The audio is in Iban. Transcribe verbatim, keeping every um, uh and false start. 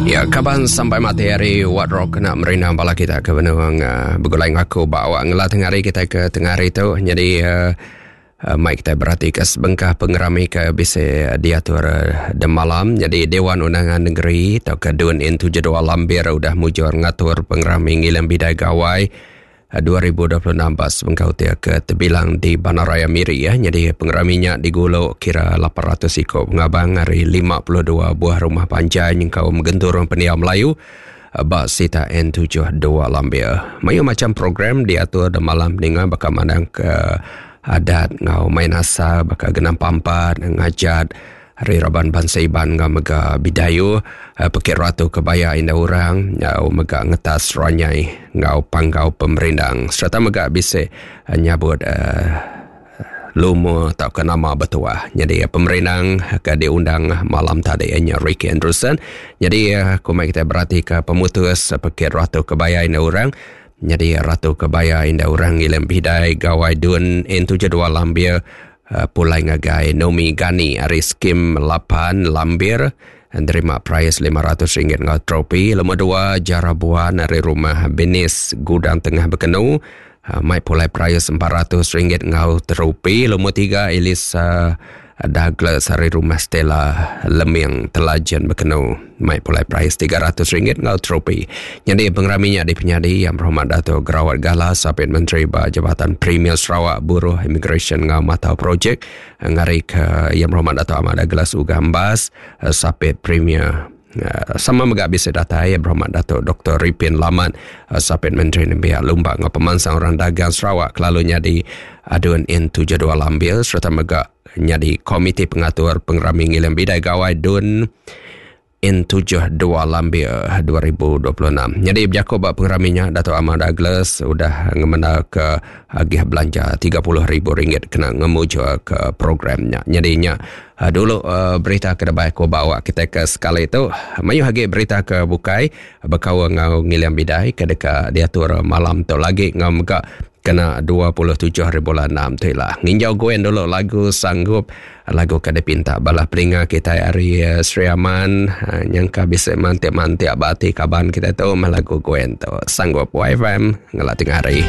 Ya, kaban sampai mati hari Wat Rock kena merindang bala kita ke benung uh, begulai ngaku bawa ngelah tengah hari kita ke tengah hari tu. Jadi uh, uh, mai kita berarti ke sebengkah pengerami ke bisa diatur uh, demalam. Jadi Dewan Undangan Negeri atau ke Dun N tujuh dua Lambir udah mujur ngatur pengerami ngilang bidai gawai dua ribu dua puluh enam bas sebengkah utia ke terbilang di Bandaraya Miri ya. Jadi pengeraminya diguluk kira lapan ratus ikut pengabang hari lima puluh dua buah rumah panjai yang kaum genturung pendiam Melayu bak sita N tujuh dua Lambir. Mayu macam program diatur di malam dengan bakal mandang ke adat ngau main asal bakal genam pampat ngajat hari Raban Bangsa Iban ngau mega bidayu pekit ratu kebaya indah orang ngau mega ngetas ranyai ngau panggau pemerindang serta mega bisa nyabut uh, lumu atau ke nama bertuah. Jadi pemerindang ke diundang malam tadi nya Ricky Anderson. Jadi kumai kita berarti ke pemutus pekit ratu kebaya indah orang. Jadi ratu kebaya indah orang ngilam bidai gawai Dun N tujuh dua Lambir Uh, pulai ngagai Nomi Gani hari skim lapan Lambir nerima prize lima ratus ringgit ngau trofi. Nombor dua Jarabuan dari rumah Benis Gudang Tengah Bekenu uh, mai pulai prize empat ratus ringgit ngau trofi. Nombor tiga Elisa Douglas dari rumah Stella Leming Telajan Bekenu mai pulai prize tiga ratus ringgit ngau trofi. Jadi pengeraminya di penyadi Yang Berhormat Dato' Gerawat Gala Sapit Menteri ba Jabatan Premier Sarawak Buruh Immigration ngau Matau Projek ngari ke Yang Berhormat Dato' Ahmad Douglas Ugambas Sapit Premier. Sama mega bisa datai Yang Berhormat Dato' Doktor Ripin Lamat Sapit Menteri Nembiak Lumba ngau Pemansang Orang Dagang Sarawak kelalunya di Adun N tujuh dua Lambir serta mega nyadi Komiti Pengatur Pengerami Ngilang Bidai Gawai Dun N tujuh dua Lambir dua ribu dua puluh enam. Jadi berjakut bab pengeraminya Dato' Ahmad Douglas udah ngemenda ke agih belanja tiga puluh ribu ringgit kena ngemujuk ke programnya. Jadinya dulu berita ke debai aku bawa kita ke sekali itu. Mayu hagi berita ke bukai berkau ngau ngilang bidai ke dekat diatur malam tu lagi ngau mega kena dua puluh tujuh hari bulan enam tu lah. Nginjau Gwen dulu lagu sanggup lagu kada pinta balah pelinga kita hari uh, Sri Aman uh, nyangka bisa mantik-mantik abati kaban kita tu mah lagu Gwen tu sanggup Y F M ngelah tengah hari.